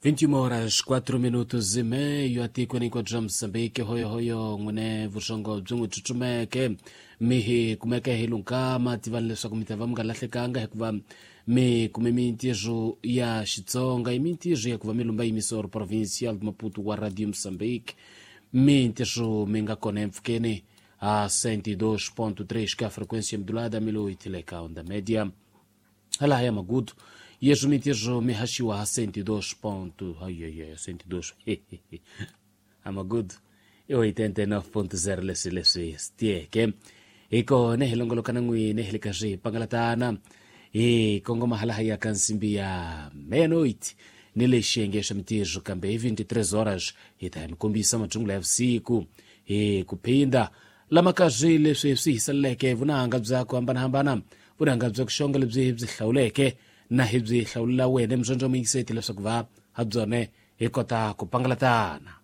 21 horas 4 minutos e meio atikweni hinkwabyo bya Mozambique. Hoyohoyo n'wine vuxongo byi n'wi tsutsumeke mi hi kumeke hi lunkama. Tivani leswaku mi ta va mi nga lahlekanga hikuva mi kume mintirho ya Xitsonga, i mintirho ya ku va mi lumba emissor provincial de Maputo wa Radio Mozambique, mintirho mi nga kona empfhukeni a 102.3 ka frequência modulada, 1008 le ka onda média. Hala ya Magudu yeswo mintirho mi haxiwa ha 102 ponto, ai ai ai, 102 a Magudu i 89.0. Leswi swi tiyeke hi kona hi longoloka na n'wina hi le ka swi pangalatana hi kongoma hala ya ka nsimbi ya meia-noite ni le xiyenge xa mintirho, kambe hi 23 horas hi ta mi kombisa mathungula ya vusiku hi ku phinda lama ka swi leswi swi hiseleleke vunanga bya ku hambanahambana, vunanga bya ku xonga lebyi hi byi hlawuleke na hi byi hlawulela wena muzondzo muyingiseti leswaku va ha byone hi kota ku pangalatana.